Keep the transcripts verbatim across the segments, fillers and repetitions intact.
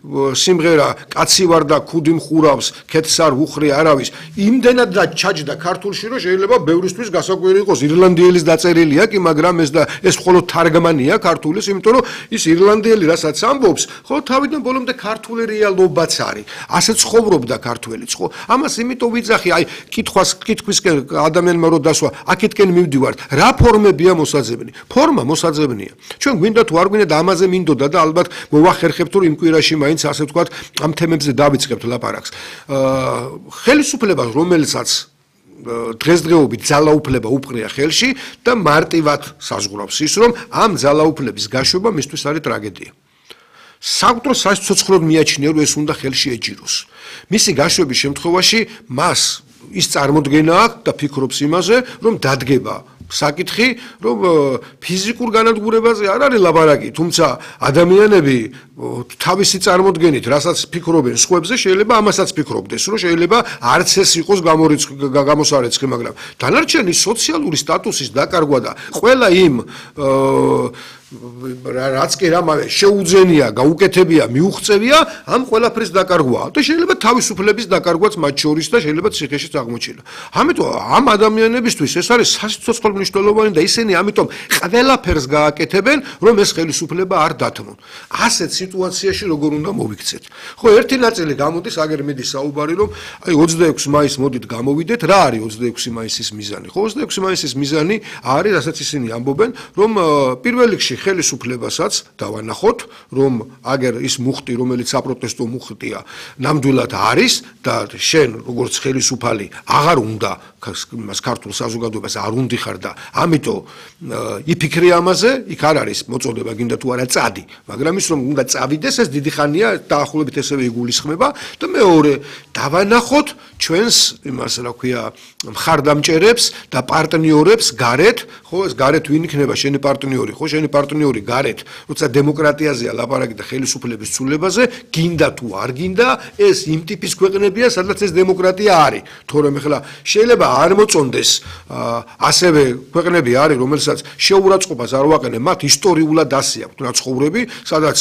სიმღერა კაცი ვარ და ქუდი მხურავს, ქეთს არ ვუხრე არავის, იმდენად და ჩაჯდა ქართულში, რომ შეიძლება ბევრისთვის გასაკვირი იყოს. ირლანდიელის დაწერილია კი, მაგრამ ეს და ეს მხოლოდ თარგმანია ქართულის, იმიტომ რომ ის ირლანდიელი რასაც ამბობს, ხო თავიდან ბოლომდე ქართული რეალობაც არის. ასე ცხოვრობდა ქართველიც, ხო? ამას იმიტომ ვიძახი, აი კითხვას კითხვისკენ ადამიანმა რო დასვა, აქეთკენ მივდივართ, რა ფორმებია მოსაძებნი? ფორმა მოსაძებნია. ჩვენ გვინდა თუ არ გვინდა და ამაზე მინდოდა და ალბათ მოვახერხებთ რომ იმ კვირაში მაინც ასე ვთქვათ ამ თემებზე დავიწყებთ ლაპარაკს. ხელისუფლებას რომელსაც დღესდღეობით ძალაუფლება უპყრია ხელში და მარტივად საზღვრავს ის რომ ამ ძალაუფლების გაშვება მისთვის არის ტრაგედია. საკვდრო საცოცხლოდ მიაჩნია რომ ეს უნდა ხელში ეჯიროს. მისი გაშვების შემთხვევაში მას ის წარმოდგენა აქვს და ფიქრობს იმაზე რომ დადგება საკითხი რომ ფიზიკურ განადგურებაზე არ არის ლაპარაკი, თუმცა ადამიანები თავისი წარმოდგენით რასაც ფიქრობენ სხვებზე შეიძლება ამასაც ფიქრობდეს რომ შეიძლება არც ეს იყოს გამოსარეცხი, მაგრამ დანარჩენი სოციალური სტატუსის დაკარგვა და ყველა იმ რაც კი რამავე შეუძენია, გაუკეთებია, მიუღწევია, ამ ყველაფრის დაკარგვაა და შეიძლება თავისუფლების დაკარგვაც მათ შორის და შეიძლება ციხეშიც აღმოჩენა. ამიტომ ამ ადამიანებისთვის ეს არის სასიცოცხლო მნიშვნელოვანი და ისინი ამიტომ ყველაფერს გააკეთებენ, რომ ეს ხელისუფლება არ დათმონ. ასეთ სიტუაციაში როგორ უნდა მოვიქცეთ? ხო, ერთი ნაწილი გამოდის, აგერ მიდის საუბარი, რომ აი ოცდაექვსი მაისს მოდით გამოვიდეთ, რა არის ოცდაექვსი მაისის მიზანი? ხო, ოცდაექვსი მაისის მიზანი არის, რასაც ისინი ამბობენ, რომ პირველ რიგში ხელისუფლებასაც დავანახოთ, რომ აგერ ის მუხტი, რომელიც საპროტესტო მუხტია, ნამდვილად არის და შენ როგორც ხელისუფალი აღარ უნდა მას ქართულ საზოგადოებას არ უნდიხარ და ამიტომ იფიქრე ამაზე, იქ არ არის მოწოდება გინდა თუ არა წადი, მაგრამ ის რომ უნდა წავიდეს, ეს დიდი ხანია დაახლოებით ესევე იგულისხმება და მეორე დავანახოთ ჩვენს იმას რა ქვია მხარდამჭერებს და პარტნიორებს გარეთ, ხო ეს გარეთ ვინ იქნება შენი პარტნიორი, ხო შენი პარტნიორი გარეთ, როცა დემოკრატიაზეა ლაპარაკი და ხელისუფლების ცვლილებაზე, გინდა თუ არ გინდა, ეს იმ ტიპის ქვეყნებია, სადაც ეს დემოკრატია არის. თორემ ახლა შეიძლება არ მოწონდეს ასევე ქვეყნები არის, რომელსაც შეურაცხყოფას არ ვაყენებ, მათ ისტორიულად ასე აქვთ ნაცხოვრები, სადაც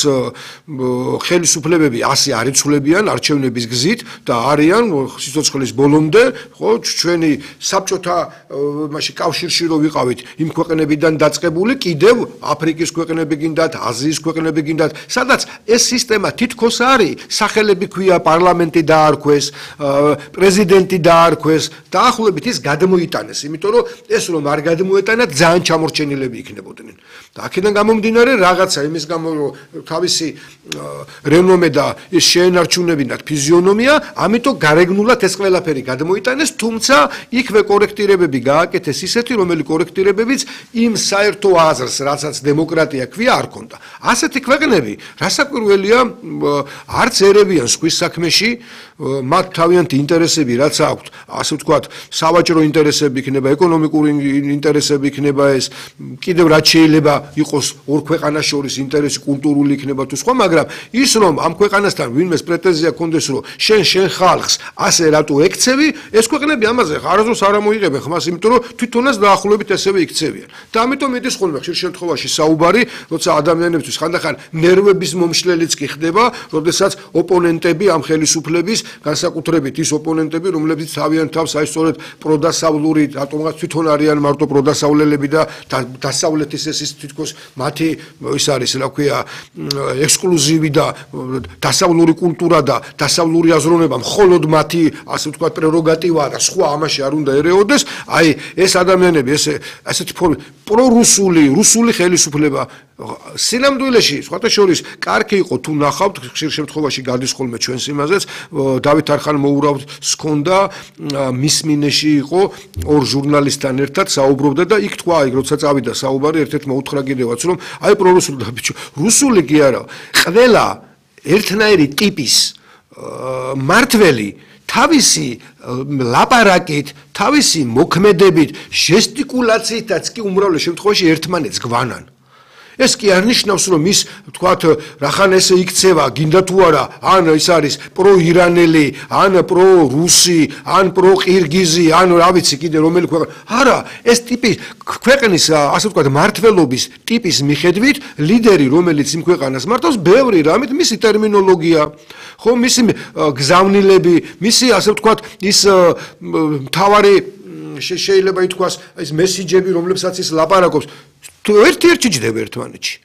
ხელისუფლებები ასე არ იცვლებიან არჩევნების გზით და არიან სიცოცხლის ბოლომდე, ხო, ჩვენი საბჭოთა მასში კავშირში რო ვიყავით, იმ ქვეყნებიდან დაწყებული კიდევ აფრიკის ქვეყნები გინდათ, აზიის ქვეყნები გინდათ, სადაც ეს სისტემა თითქოს არის, სახელები ქვია, პარლამენტი დაარქვეს, პრეზიდენტი დაარქვეს, დაახლოებით ის გადმოიტანეს, იმიტომ რომ ეს რომ არ გადმოეტანა, ძალიან ჩამორჩენილები იქნებოდნენ. და აქედან გამომდინარე რაღაცა იმის გამო რომ თავისი რენომე და ის შეენარჩუნებინათ ფიზიონომია, ამიტომ გარეგნულად ეს ყველაფერი გადმოიტანეს, თუმცა იქვე კორექტირებები გააკეთეს ისეთი, რომელი კორექტირებებიც იმ საერთო აზრს, რასაც დემოკრატია ქვია, არ ქონდა. ასეთი ქვეყნები, რასაკვირველია, არც ერებიან სხვის საქმეში, მათ თავიანთი ინტერესები რაც აქვთ, ასე ვთქვათ, სავაჭრო ინტერესები იქნება, ეკონომიკური ინტერესები იქნება ეს, კიდევ რაც შეიძლება იყოს ორ ქვეყანას შორის ინტერესი, კულტურული იქნება თუ სხვა, მაგრამ ის რომ ამ ქვეყანასთან ვინმეს პრეტენზია ქონდეს, რომ შენ შენ ხალხს ასე რატო ეკცევი, ეს ქვეყნები ამაზე არასდროს არ ამოიღებენ ხმას, იმიტომ რომ თვითონაც დაახლოებით ესევე იქცევიან. და ამიტომ მიდის ხოლმე ხშირ შემთხვევაში საუბარი, როცა ადამიანებისთვის ხანდახან ნერვების მომშლელიც კი ხდება, როდესაც ოპონენტები ამ ხელისუფლების, განსაკუთრებით ის ოპონენტები, რომლებიც თავიანთ თავს აი სწორედ პროდასავლური, რატომღაც თვითონ არიან მარტო პროდასავლელები და დასავლეთის ეს ის თითქოს მათი ის არის, რა ქვია, ექსკლუზივი და დასავლური კულტურა და დასავლური აზროვნება მხოლოდ მათი, ასე ვთქვათ, პრეროგატივაა და სხვა ამაში არ უნდა ერეოდეს, აი ეს ადამიანები ესე ასეთი პრორუსული, რუსული ხელისუფლება სინამდვილეში, სხვათა შორის, კარგი იყო თუ ნახავთ, ხშირ შემთხვევაში გადის ხოლმე ჩვენს იმაზეც, დავით არხან-მოურავს ჰქონდა, მის მინეში იყო ორ ჟურნალისტთან ერთად საუბრობდა და იქ თქვა, იქ როცა წავიდა საუბარი, ერთ-ერთმა უთხრა კიდევაც, რომ აი პრორუსული და ბიჭო, რუსული კი არა, ყველა ერთნაირი ტიპის მართველი თავისი ლაპარაკით, თავისი მოქმედებით, ჟესტიკულაციითაც კი უმრავლეს შემთხვევაში ერთმანეთს გვანან. ეს კი არ ნიშნავს, რომ ის თქვათ, რახან ესე იქცევა, გინდა თუ არა, ან ის არის პრო-ირანელი, ან პრო-რუსი, ან პრო-ყირგიზი, ან რა ვიცი კიდე რომელი ქვეყანა. არა, ეს ტიპი ქვეყნის, ასე ვთქვათ, მართლობის ტიპის მიხედვით, ლიდერი, რომელიც იმ ქვეყანას მართავს, ბევრი რამით მისი ტერმინოლოგია, ხო, მისი გზავნილები, მისი, ასე ვთქვათ, ის მთავარი შეიძლება ითქვას, ის მესიჯები, რომლებსაც ის ლაპარაკობს, ერთ-ერთი ჯდება ერთმანეთში.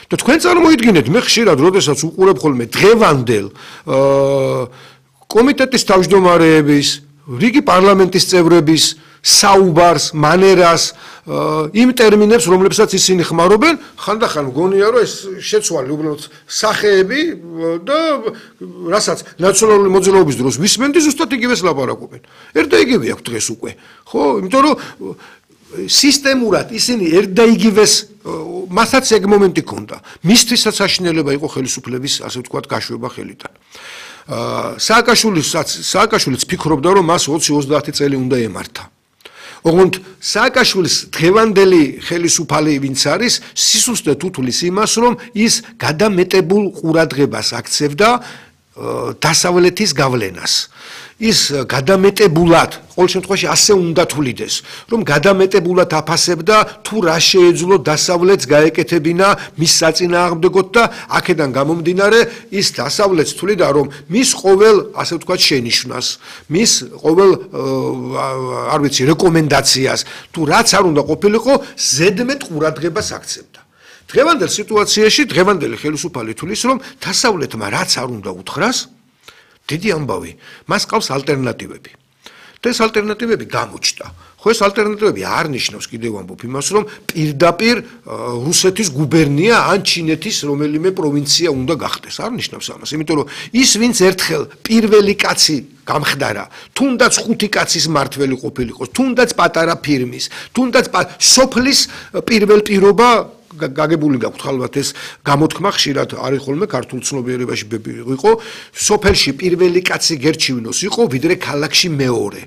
და თქვენ წარმოიდგინეთ, მე ხშირად, როდესაც უყურებ ხოლმე დღევანდელ კომიტეტის თავმჯდომარეების, რიგი პარლამენტის წევრების საუბარს, მანერას, იმ ტერმინებს, რომლებსაც ისინი ხმარობენ, ხანდახან მგონია, რომ ეს შეცვალი უბრალოდ სახეები და რასაც ნაციონალური მოძრაობის დროს ვისმენდი, ზუსტად იგივეს ლაპარაკობენ. ერთ და იგივე აქვს დღეს უკვე. ხო, იმიტომ რომ სისტემურად ისინი ერთ და იგივეს მასაც ეგ მომენტი ქონდა. მისთვისაც საშინელება იყო ხელისუფლების, ასე ვთქვათ, გაშვება ხელიდან. სააკაშვილისაც სააკაშვილიც ფიქრობდა, რომ მას ოცი ოცდაათი წელი უნდა ემართა. ოღონდ სააკაშვილის დღევანდელი ხელისუფალი ვინც არის, სისუსტე თუთulis იმას, რომ ის გადამეტებულ ყურადღებას აქცევდა დასავლეთის გავლენას. ის გადამეტებულად, ყოველ შემთხვევაში ასე უნდა თulides, რომ გადამეტებულად აფასებდა თუ რა შეეძლო დასავლეთს გაეკეთებინა მის საწინააღმდეგოდ და აქედან გამომდინარე ის დასავლეთს თuliда, რომ მის ყოველ, ასე ვთქვათ, შენიშვნას, მის ყოველ არ ვიცი, რეკომენდაციას, თუ რაც არ უნდა ყოფილიყო, ზედმეტ ყურადღებას აქცევდა. დღევანდელ სიტუაციაში, დღევანდელი ხელისუფალი თulis, რომ დასავლეთმა რაც არ უნდა უთხრას, დიდი ამბავი, მას ყავს ალტერნატივები. და ეს ალტერნატივები გამოჩნდა. ხო, ეს ალტერნატივები არ ნიშნავს კიდევ ამბობ იმას, რომ პირდაპირ რუსეთის გუბერნია ან ჩინეთის რომელიმე პროვინცია უნდა გახდეს. არ ნიშნავს ამას, იმიტომ რომ ის ვინც ერთხელ პირველი კაცი გამხდარა, თუნდაც ხუთი კაცის მართველი ყოფილიყოს, თუნდაც პატარა ფირმის, თუნდაც სოფლის პირველ პირობა გაგებული გაქვთ ხალხად ეს გამოთქმა ხშირად არის ხოლმე ქართულ ცნობიერებაში იყო სოფელში პირველი კაცი გერჩივნოს იყო ვიდრე ქალაქში მეორე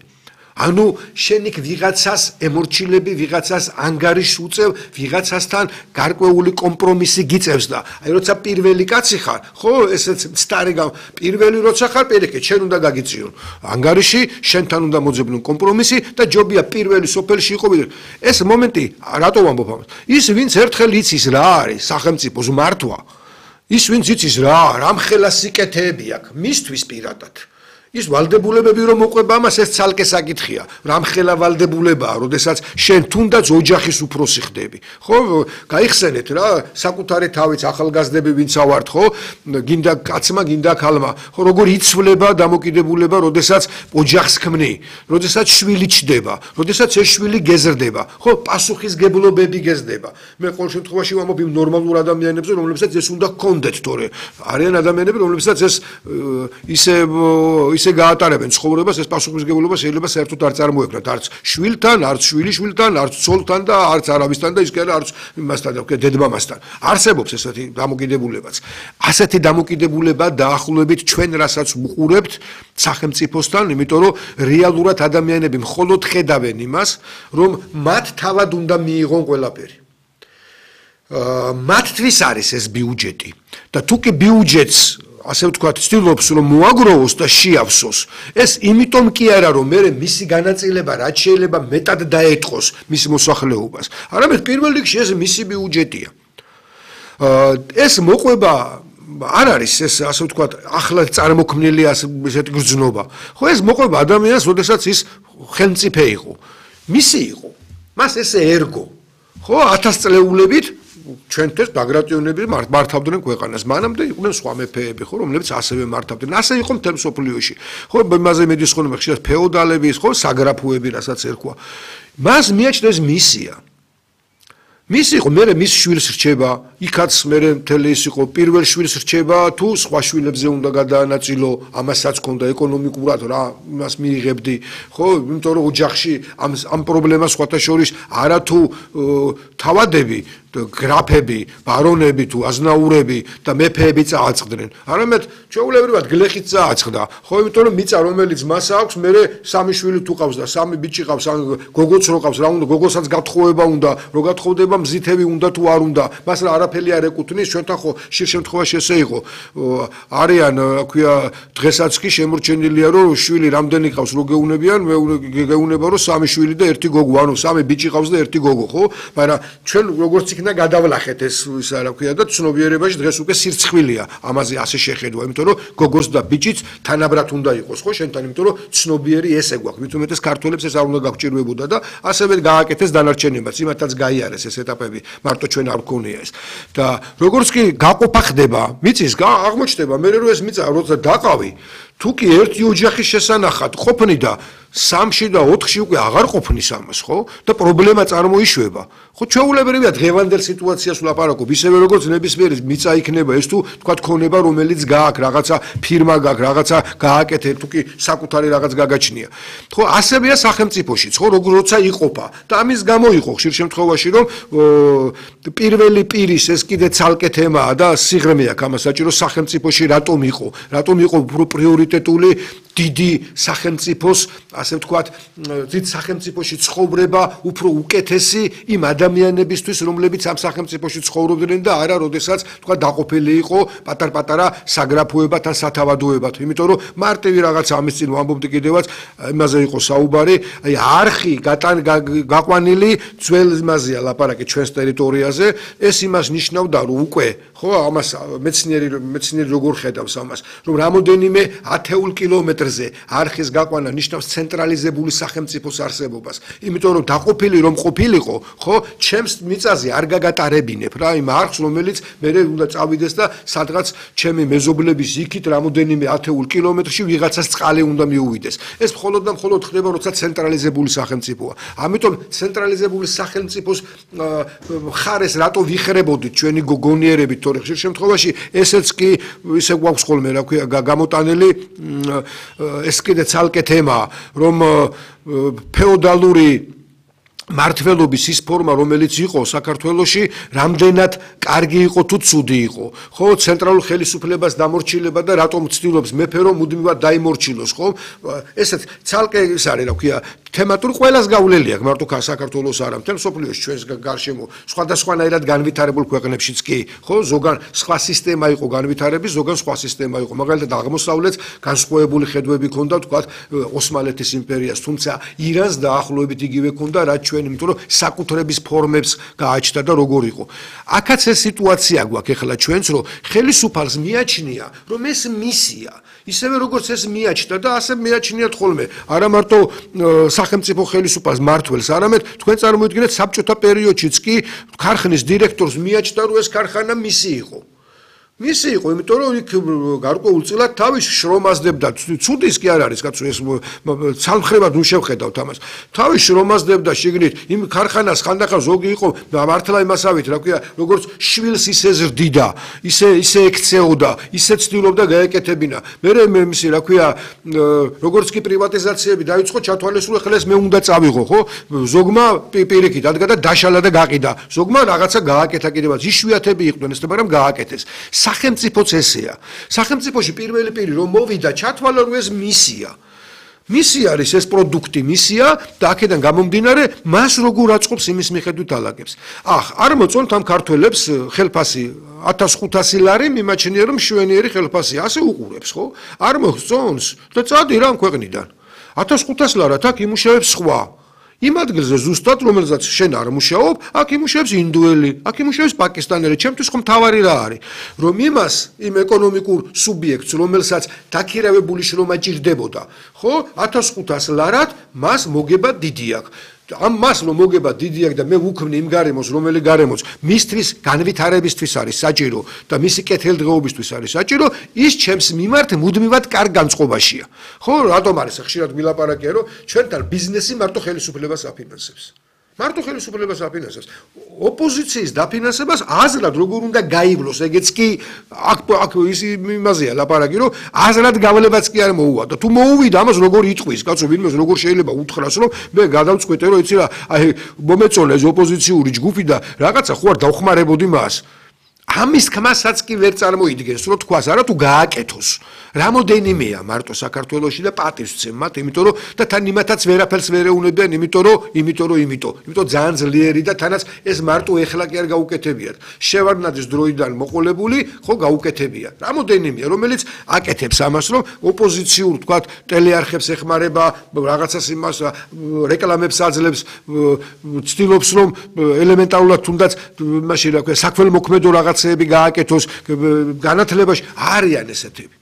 ანუ შენ იქ ვიღაცას ემორჩილები ვიღაცას ანგარიშს უწევ ვიღაცასთან გარკვეული კომპრომისი გიწევს და აი როცა პირველი კაცი ხარ ხო ესეც მცდარი გამ პირველი როცა ხარ პირიქით შენ უნდა გაგიწიონ ანგარიში შენთან უნდა მოძებნონ კომპრომისი და ჯობია პირველი სოფელში იყო ვიდრე ეს მომენტი რატო ვამბობ ამას ის ვინც ერთხელ იცის რა არის სახელმწიფოს მართვა ის ვინც იცის რა რამხელა სიკეთეები აქვს მისთვის პირადად ის ვალდებულებები რომ მოყვება ამას ეს ცალკე საკითხია რამხელა ვალდებულებაა როდესაც შენ თუნდაც ოჯახის უფროსი ხდები ხო გაიხსენეთ რა საკუთარი თავის ახალგაზრდები ვინც ავართ ხო გინდა კაცმა გინდა ქალმა ხო როგორ იცვლება დამოკიდებულება როდესაც ოჯახს ქმნი როდესაც შვილი ჩდება როდესაც ეს შვილი გეზრდება ხო პასუხისგებლობები გეზრდება მე ყოველ შემთხვევაში ვამბობ იმ ნორმალურ ადამიანებზე რომლებსაც ეს უნდა გქონდეთ თორე არიან ადამიანები რომლებსაც ეს ისე ისე გაატარებენ ცხოვრებას ეს პასუხისმგებლობა შეიძლება საერთოდ არ წარმოექმნათ არც შვილთან არც შვილიშვილთან არც ცოლთან და არც არავისთან და ის კი არა არც იმასთან და დედმამასთან არსებობს ესეთი დამოკიდებულებაც ასეთი დამოკიდებულება დაახლოებით ჩვენ რასაც ვუყურებთ სახელმწიფოსთან იმიტომ რომ რეალურად ადამიანები მხოლოდ ხედავენ იმას რომ მათ თავად უნდა მიიღონ ყველაფერი მათთვის არის ეს ბიუჯეტი და თუ კი ბიუჯეტს ასე ვთქვათ, ცდილობს რომ მოაგროვოს და შეავსოს. ეს იმიტომ კი არა რომ მე მისი განაწილება რაც შეიძლება მეტად დაეტყოს მის მოსახლეობას. არამედ პირველ რიგში ეს მისი ბიუჯეტია. ეს მოყვება არ არის ეს ასე ვთქვათ, ახლა წარმოქმნილი ასეთი გრძნობა. ხო ეს მოყვება ადამიანს, როდესაც ის ხელმწიფე იყო. მისი იყო. მას ესე ერგო. ხო ათასწლეულებით ჩვენთვის ბაგრატიონები მართავდნენ ქვეყანას. მანამდე იყვნენ სხვა მეფეები, ხო, რომლებიც ასევე მართავდნენ. ასე იყო მთელ მსოფლიოში. ხო, იმაზე მედის ხოლმე ხშირად ფეოდალები, ხო, საგრაფოები, რასაც ერქვა. მას მიაჩნდა ეს მისია. მისი იყო, მე მის შვილს რჩება, იქაც მე მთელი ის იყო, პირველ შვილს რჩება, თუ სხვა შვილებზე უნდა გადაანაწილო, ამასაც ქონდა ეკონომიკურად რა, იმას მიიღებდი, ხო, იმიტომ რომ ოჯახში ამ ამ პრობლემას სხვათა შორის არა თუ თავადები გრაფები, ბარონები თუ აზნაურები და მეფეები წააწყდნენ. არამედ ჩვეულებრივად გლეხით წააწყდა. ხო, იმიტომ რომ მიწა რომელიც მას აქვს, მე სამი შვილი თუ ყავს და სამი ბიჭი ყავს, ან გოგოც რო ყავს, რა უნდა, გოგოსაც გათხოვება უნდა, რო გათხოვდება მზითები უნდა თუ არ უნდა. მას რა არაფერი არ ეკუთვნის, ჩვენთან ხო ხშირ შემთხვევაში ესე იყო. არიან, რა ქვია, დღესაც კი შემორჩენილია, რომ შვილი რამდენი ყავს, რო გეუნებიან, მე გეუნება რომ სამი შვილი და ერთი გოგო, ანუ სამი ბიჭი ყავს და ერთი გოგო, ხო? მაგრამ ჩვენ როგორც იქნა გადავლახეთ ეს ისა რა ქვია და ცნობიერებაში დღეს უკვე სირცხვილია ამაზე ასე შეხედვა, იმიტომ რომ გოგოს და ბიჭიც თანაბრად უნდა იყოს, ხო, შენთან, იმიტომ რომ ცნობიერი ესე გვაქვს. მით უმეტეს ქართველებს ეს არ უნდა გაგჭირვებოდა და ასევე გააკეთეს დანარჩენებაც, იმათაც გაიარეს ეს ეტაპები, მარტო ჩვენ არ გქონია ეს. და როგორც კი გაყოფა ხდება, მიწის აღმოჩნდება, მე რო ეს მიწა როცა დაყავი, თუ კი ერთი ოჯახის შესანახად ყოფნი და სამში და ოთხში უკვე აღარ ყოფნის ამას, ხო? და პრობლემა წარმოიშვება. ხო, ჩვეულებრივია დღევანდელ სიტუაციას ვლაპარაკობ, ისევე როგორც ნებისმიერი მიწა იქნება, ეს თუ თქვა ქონება, რომელიც გააქვს, რაღაცა ფირმა გააქვს, რაღაცა გააკეთე, თუ კი საკუთარი რაღაც გაგაჩნია. ხო, ასევეა სახელმწიფოშიც, ხო, როცა იყოფა. და ამის გამო იყო ხშირ შემთხვევაში, რომ პირველი პირის ეს კიდე ცალკე თემაა და სიღრმე აქვს ამას საჭირო სახელმწიფოში რატომ იყო, რატომ იყო პრიორიტეტული დიდი სახელმწიფოს, ასე ვთქვათ, დიდ სახელმწიფოში ცხოვრება უფრო უკეთესი იმ ადამიანებისთვის, რომლებიც ამ სახელმწიფოში ცხოვრობდნენ და არა, როდესაც თქვა დაყოფილი იყო პატარ-პატარა საგრაფოებად ან სათავადოებად. იმიტომ რომ მარტივი რაღაც ამის წინ ვამბობდი კიდევაც, იმაზე იყო საუბარი, აი არხი გაყვანილი ძველ იმაზეა ლაპარაკი ჩვენს ტერიტორიაზე, ეს იმას ნიშნავდა, რომ უკვე, ხო, ამას მეცნიერი მეცნიერი როგორ ხედავს ამას, რომ რამოდენიმე ათეულ კილომეტრზე არხის გაყვანა ნიშნავს ცენტრალიზებული სახელმწიფოს არსებობას. იმიტომ რომ დაყოფილი რომ ყოფილიყო, ხო, ჩემს მიწაზე არ გაგატარებინებ რა იმ არხს, რომელიც მე უნდა წავიდეს და სადღაც ჩემი მეზობლების იქით რამოდენიმე ათეულ კილომეტრში ვიღაცას წყალი უნდა მიუვიდეს. ეს მხოლოდ და მხოლოდ ხდება, როცა ცენტრალიზებული სახელმწიფოა. ამიტომ ცენტრალიზებული სახელმწიფოს მხარეს რატო ვიხრებოდით ჩვენი გოგონიერებით, თორე ხშირ შემთხვევაში ესეც კი ისე გვაქვს ხოლმე, რა ქვია, გამოტანილი ეს კიდე ცალკე თემაა, რომ ფეოდალური მართლობის ის ფორმა, რომელიც იყო საქართველოში, რამდენად კარგი იყო თუ ცუდი იყო. ხო, ცენტრალურ ხელისუფლებას დამორჩილება და რატომ ცდილობს მეფე რომ მუდმივად დაიმორჩილოს, ხო? ესეც ცალკე ის არის, რა ქვია, თემატური ყველას გავლილი აქვს, მარტო საქართველოს არა, მთელ მსოფლიოში ჩვენს გარშემო სხვადასხვანაირად განვითარებულ ქვეყნებშიც კი, ხო, ზოგან სხვა სისტემა იყო განვითარების, ზოგან სხვა სისტემა იყო. მაგალითად აღმოსავლეთს განსხვავებული ხედვები ჰქონდა, თქვათ, ოსმალეთის იმპერიას, თუმცა ირანს დაახლოებით იგივე ჰქონდა, რაც ჩვენ, იმიტომ რომ საკუთრების ფორმებს გააჩნდა და როგორ იყო. აქაც ეს სიტუაცია გვაქვს ახლა ჩვენც, რომ ხელისუფალს მიაჩნია, რომ ეს მისია, ისევე როგორც ეს მიაჩნდა და ასე მიაჩნიათ ხოლმე, არა მარტო სახელმწიფო ხელისუფალს მართველს, არამედ თქვენ წარმოიდგინეთ საბჭოთა პერიოდშიც კი ქარხნის დირექტორს მიაჩნდა, რომ ეს ქარხანა მისი იყო. მისი იყო, იმიტომ რომ იქ გარკვეულწილად თავის შრომაზდებდა, ცუდის კი არ არის, კაცო, ეს ცალმხრებად ნუ შევხედავთ ამას. თავის შრომაზდებდა შიგნით იმ ქარხანას ხანდახან ზოგი იყო მართლა იმასავით, რა ქვია, როგორც შვილს ისე ზრდიდა, ისე ისე ექცეოდა, ისე ცდილობდა გაეკეთებინა. მერე მე მისი, რა ქვია, როგორც კი პრივატიზაციები დაიწყო, ჩათვალისწინე ხლეს მე უნდა წავიღო, ხო? ზოგმა პირიქით ადგა და დაშალა და გაყიდა. ზოგმა რაღაცა გააკეთა კიდევაც, იშვიათები იყვნენ ეს, მაგრამ გააკეთეს. სახელმწიფოც ესეა. სახელმწიფოში პირველი პირი რომ მოვიდა, ჩათვალა რომ ეს მისია. მისი არის ეს პროდუქტი, მისია და აქედან გამომდინარე, მას როგორ აწყობს იმის მიხედვით ალაგებს. ახ, არ მოწონთ ამ ქართველებს ხელფასი ათას ხუთასი ლარი მიმაჩნია რომ მშვენიერი ხელფასი, ასე უყურებს, ხო? არ მოწონს და წადი რა ამ ქვეყნიდან. ათას ხუთას ლარად აქ იმუშავებს სხვა. იმ ადგილზე ზუსტად, რომელზეც შენ არ მუშაობ, აქ იმუშავებს ინდუელი, აქ იმუშავებს პაკისტანელი, ჩემთვის ხომ თავარი რა არის, რომ იმას, იმ ეკონომიკურ სუბიექტს, რომელსაც დაქირავებული შრომა ჭირდებოდა, ხო, ათას ხუთას ლარად მას მოგება დიდი აქვს. ამ მას რომ მოგება დიდი აქვს და მე ვუქმნი იმ გარემოს, რომელი გარემოს მისთვის განვითარებისთვის არის საჭირო და მისი კეთილდღეობისთვის არის საჭირო, ის ჩემს მიმართ მუდმივად კარგ განწყობაშია. ხო, რატომ არის ხშირად ვილაპარაკია, რომ ჩვენთან ბიზნესი მარტო ხელისუფლებას აფინანსებს. მარტო ხელისუფლებას აფინანსებს. ოპოზიციის დაფინანსებას აზრად როგორ უნდა გაივლოს, ეგეც კი აქ აქ ის იმაზეა ლაპარაკი, რომ აზრად გავლებაც კი არ მოუვა და თუ მოუვიდა ამას როგორ იტყვის, კაცო, ვინმეს როგორ შეიძლება უთხრას, რომ მე გადავწყვეტე, რომ იცი რა, აი მომეწონა ეს ოპოზიციური ჯგუფი და რაღაცა ხო არ დავხმარებოდი მას. ამის თქმასაც კი ვერ წარმოიდგენს, რომ თქვას არა თუ გააკეთოს. რამოდენიმეა მარტო საქართველოში და პატივს ვცემ მათ, იმიტომ რომ და თან იმათაც ვერაფერს ვერ ეუნებიან, იმიტომ რომ, იმიტომ რომ, იმიტომ, იმიტომ ძალიან ძლიერი და თანაც ეს მარტო ეხლა კი არ გაუკეთებიათ. შევარდნაძის დროიდან მოყოლებული, ხო გაუკეთებია. რამოდენიმეა, რომელიც აკეთებს ამას, რომ ოპოზიციურ, თქვათ, ტელეარხებს ეხმარება, რაღაცას იმას რეკლამებს აძლევს, ცდილობს რომ ელემენტარულად თუნდაც მაშინ რა ქვია, საქველმოქმედო რაღაც გააკეთოს განათლებაში არიან ესეთები.